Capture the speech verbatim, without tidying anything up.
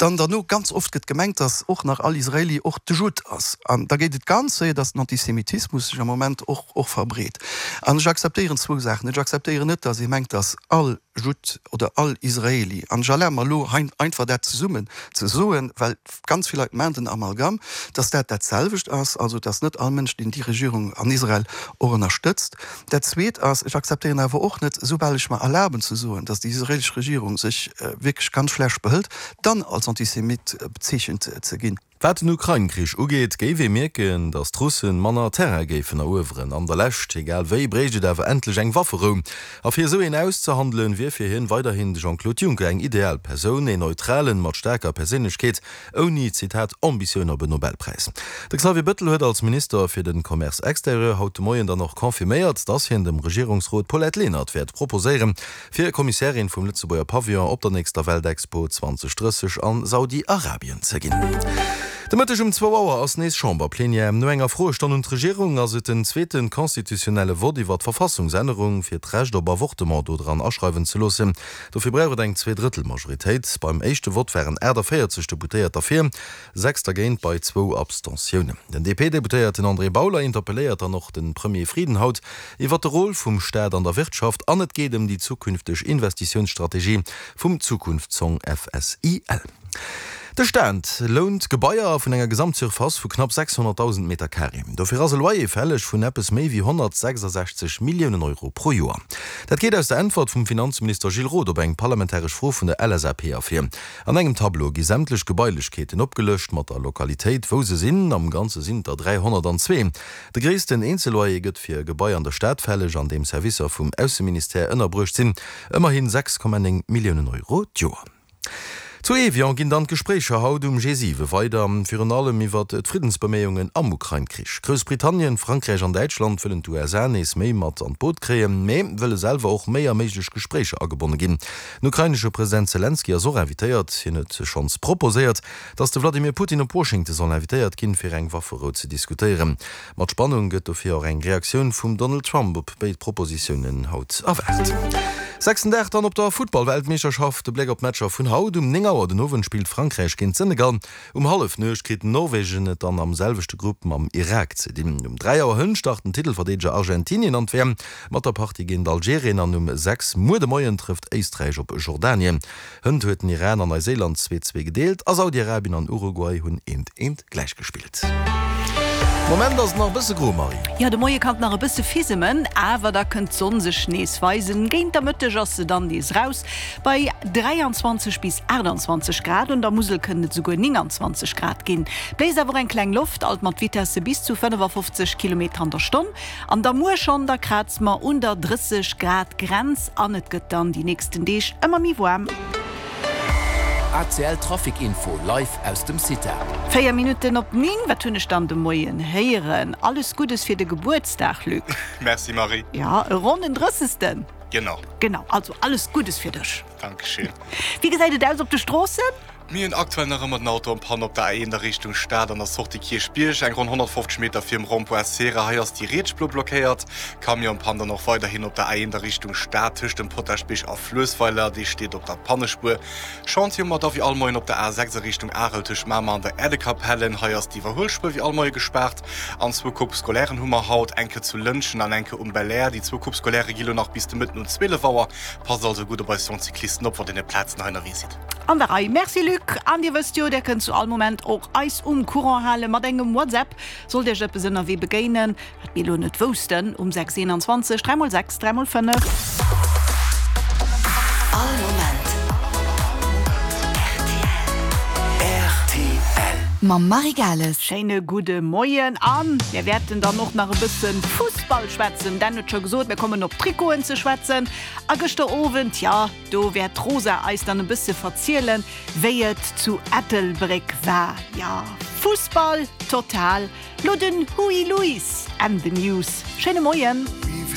Dann derno, ganz oft gëtt gemengt, dass och nach all Israeli och de Judd ass. An da geet et ganz séier, dass den Antisemitismus sech am Moment och, och verbreet. An ech akzeptéieren zwou Saachen net. Ech akzeptéieren net, dass ee mengt, dass all Judd oder all Israeli, an ech erlabe mer elo hei einfach dat zesummen ze soen, well ganz vill Leit maachen den Amalgam, dass dat dat selwecht ass, also dass net all Mënsch, deen déi Regierung an Israel och ënnerstëtzt. Dat Zweet ass, ech akzeptéieren awer och net, soubal ech mer erlaben ze soen, dass déi israelesch Regierung sech wierklech ganz schlecht behëlt, dann als Antisemit bezeechent ze ginn. Wat den Ukrain-Krich ugeet, géif ee mierken, datt d'Russen manner Terrain géifen erueweren. An der Lescht, egal wéi, bréicht et awer endlech eng Wafferou. A fir esou een auszehandelen, wier fir hien weiderhin de Jean-Claude Juncker eng ideal Persoun, een Neutralen mat staarker Perséinlechkeet, ouni, Zitat, Ambitioun op en Nobelpräis. De Xavier Bettel huet als Minister fir de Commerce extérieur haut de Moien dann och confirméiert, datt hien dem Regierungsrot d'Paulette Lenert wäert proposéieren, fir Kommissärin vum Lëtzebuerger Pavillon op der nächster Weltexpo zwanzeg drësseg a Saudi-Arabien ze ginn. De Mëtteg um zwou Auer ass nees Chamberplenière. No enger Froestonn un d'Regierung ass et den zweete constitutionnelle Vott iwwer d'Verfassungsännerung, fir d'Recht op Avortement do dran aschreiwen ze loossen. Dofir brauch et eng Zweedrëttelmajoritéit. Beim éischte Vott waren aachtavéierzeg Deputéiert derfir, sechs dergéint bei zwou Abstentiounen. Den D P-Deputéierten André Bauler interpelléiert dann och de Premier Frieden haut iwwer de Rôle vum Staat an der Wirtschaft an et geet ëm déi zukünfteg Investitiounsstrategie vum Zukunftszong F S I L. De Staat lount Gebaier vun enger Gesamtsurface vu knapp sechshonnertdausend Meter Carré. Dofir ass e Loyer fälleg vun eppes méi wéi honnertsechsasechzeg Milliounen Euro pro Joer. Dat geet aus der Äntwert vum Finanzminister Gilles Roth op eng parlamentaresch Fro vun der L S A P ervir. An engem Tableau gi sämtlech Gebailechkeeten opgelëscht mat der Lokalitéit, wou se sinn. Am Ganze sinn et der dräihonnertanzwee. De gréissten Eenzelloyer gëtt fir e Gebai an der Stad fälleg, an deem Servicer vum Ausseministère ënnerbruecht sinn, ëmmerhi sechs Komma néng Milliounen Euro d'Joer. Zu Evian ginn dann d'Gespréicher haut um G siwe weider, virun allem iwwert d'Friddensbeméiungen am Ukrain-Krich. Groussbritannien, Frankräich an Däitschland wëllen d'U S A nees méi mat an d'Boot kréien, mee wëlle selwer och méi a méiglech Gespréicher agebonne ginn. Den ukrainesche President Selenskyj ass och invitéiert. Hien huet schonns proposéiert, datt de Vladimir Putin op Washington soll invitéiert ginn, fir eng Wafferou ze diskutéieren. Mat Spannung gëtt dofir och eng Reaktioun vum Donald Trump op béid Propositiounen haut erwaart. Sechsten Dag dann op der Futtball-Weltmeeschterschaft, de Bléck op d'Matcher vun haut. Um néng Auer den Owend spillt Frankräich géint Senegal. Um Hallefnuecht kritt Norwegen et dann am selwechte Grupp mam Irak ze dinn. Um dräi Auer hënt start den Titelverdeedeger Argentinien an d'W M mat der Partie géint Algerien an um sechs muer de Moien trëfft Éisträich op Jordanien. Hënt huet den Iran an Neiséiland zwee zwee gedeelt a Saudi-Arabien an Uruguay hunn eent eent gläichgespillt. Moment ass et nach e bësse gro, Marie. Jo, de Moie kann et nach e bësse fisemen, awer da kënnt d'Sonn sech nees weisen. Géint der Mëtteg ass se dann nees raus bei dräianzwanzeg bis aachtanzwanzeg Grad, un der Musel kënnen et esouguer nénganzwanzeg Grad ginn. Bléist awer och eng kleng Loft, alt mat Vitesse bis zu fënnefafofzeg Kilometer an der Stonn. An da muer schonn, da kraze mer un der drësseg Grad Grenz an et gëtt dann déi nächsten Deeg ëmmer méi waarm. A C L Trafic Info live aus dem CITA. Véier Minutten op néng, wat hunn ech dann de Moien héieren? Alles Guddes fir de Gebuertsdag, Luc! Merci Marie. Ja, e ronnen Drëssegsten. Genau. Genau, also alles Guddes fir dech. Dankeschön. Wéi gesäit et aus op de Stroossen? Mir hunn aktuell nach ëmmer den Auto en panne op der A eent a Richtung Stad an der Sortie Kierchbierg, eng ronn honnertfofzeg Meter virum Rond-point Cera. Hei ass déi riets Spuer blockéiert. Camion en panne dann och weiderhin op der A eent a Richtung Stad tëscht dem Potaschbierg a Fluessweiler, dee steet op der Pannespuer. Chantier hu mer da wéi all Moien op der A sechs a Richtung Arel tëscht Mamer an der Erdekapelle. Hei ass d'Iwwerhuelspuer wéi all Moie gespaart. An zwou Coupe scolairen hu mer haut, eng Kéier zu Lëntgen an eng Kéier um Belair. Déi zwou Coupe scolairë gi lo nach bis de Mëtten um zwielef Auer. Passt also gutt op eis jonk Cyclisten op, wann dir op Plazen hei ënnerwee sidd. An der Rei. Merci Luc. An dir wësst jo, der kënnt zu all Moment och eis um Courant hale mat engem WhatsApp. Sollt iech eppes ënnerwee begéinen, wat mir elo net woussten, um sechs eenanzwanzeg dräi mol sechs dräi mol fënnef. All Moment R T L. Mam Marie Gales. Schéine gudde Moien an mir wäerten dann och nach e bësse Fussball schwätzen. Dan huet scho gesot, mir kommen op d'Trikoten ze schwätzen. A gëschter Owend, jo, do wäert d'Rosa eis dann e bësse verzielen, wéi et zu Ettelbréck war. Jo, Fussball total. Lo den Huey Lewis and the News. Schéine Moien.